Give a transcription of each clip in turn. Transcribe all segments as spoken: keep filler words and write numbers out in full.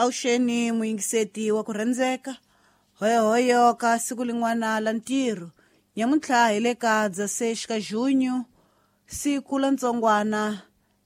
Awuxeni muyingiseti wa ku rhandzeka hoyohoyo ka siku lin'wana la ntirho nyamuntlha hi le ka dzasex ka junho siku la ntsongwana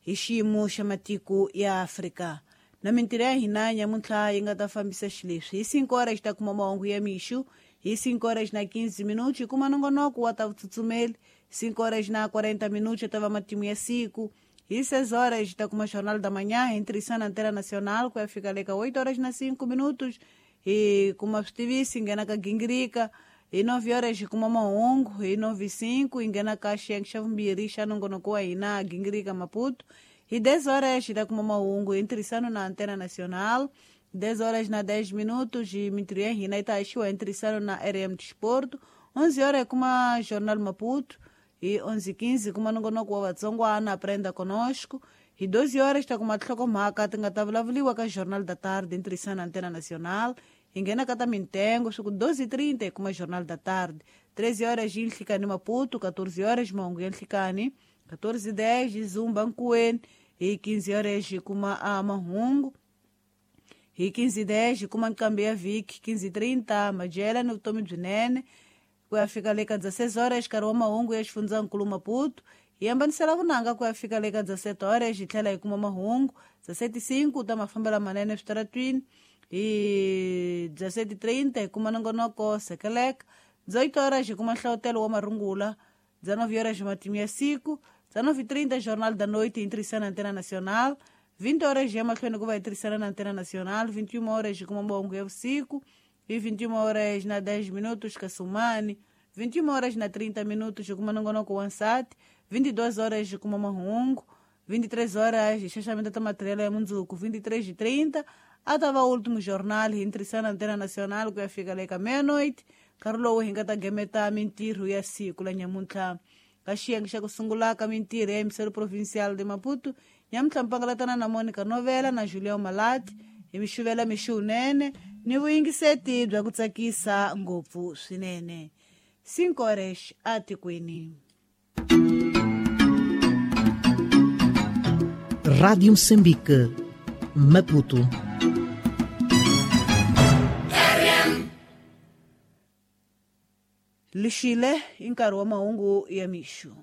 hi xiyimo xa matiko ya Afrika na mintirho ya hina nyamuntlha yi nga ta fambisa xileswi hi cinco horas ta kuma mahungu ya mixo hi cinco horas na quinze minutos hi kuma nongonoko wa ta vutsutsumeli cinco horas na quarenta minutos ta va matimu ya siku hi seis horas ta kuma Jornal da Manhã hi ntirhisano Antena Nacional ku ya fika le ka oito horas na cinco minutos hi kuma switivisi hi nghena ka gingirika hi nove horas hi kuma mahungu hi nove cinco hi nghena ka xiyenge xa vumbirhi xa nongonoko wa hina gingirika Maputo hi dez horas hi ta kuma mahungu hi ntirhisano na Antena Nacional dez horas na dez minutos hi mintirho ya hina yi ta haxiwa hi ntirhisano na R M Desporto onze horas hi kuma Jornal Maputo hi onze quinze kuma nongonoko wa vatsongwana Aprenda Conosco hi doze horas ta kuma tinhlokomhaka ti nga ta vulavuriwa ka Jornal da Tarde ntirhisano na Antena Nacional hi nghena ka ta mintengo swi ku doze trinta hi kuma Jornal da Tarde treze horas hi nhlikani Maputo quatorze horas mahungu ya nhlikani quatorze dez hi Zumba Nkuweni hi quinze horas hi kuma a mahungu hi quinze dez hi kuma nqambi ya vhiki quinze trinta madyela ni vutomi byinene ku ya fika le ka dezesseis horas nkarhi wa mahungu ya xifundzankulu Maputo hi hambanisela vunanga ku ya fika le ka dezessete horas hi tlhela hi kuma mahungu dezessete cinco ta mafambelo manene eswitaratwini hi dezessete trinta hi kuma nongonoko sekeleka dezoito horas hi kuma nhlawutelo wa marungula dezenove horas matimu ya siku dezenove trinta Jornal da Noite hi ntirhisano na Antena Nacional vinte horas hi ya mahlweni ku va hi tirhisana na Antena Nacional vinte e uma horas hi kuma mahungu ya vusiku hi vinte e uma horas na dez minutos Kasumani vinte e uma horas na trinta minutos hi kuma nongonoko wa nsati vinte e duas horas hi kuma mahungu vinte e três horas hi xaxameta ta matirhelo ya mundzuku vinte e três e trinta a ta va último jornal hi ntirhisano na Antena Nacional ku ya fika le ka meia-noite nkarhi lowu hi nga ta gemeta mintirho ya siku la nyamuntlha ka xiyenge xa ku sungula ka mintirho ya Emissário Provincial de Maputo nyamuntlha mpangalatana na Monica Novela na Julião Malati hi mixuvela mixunene ni vuyingiseti bya ku tsakisa ngopfu swinene cinco horas atikweni. Rádio Moçambique, Maputo. Lixile i nkarhi wa mahungu ya mixo.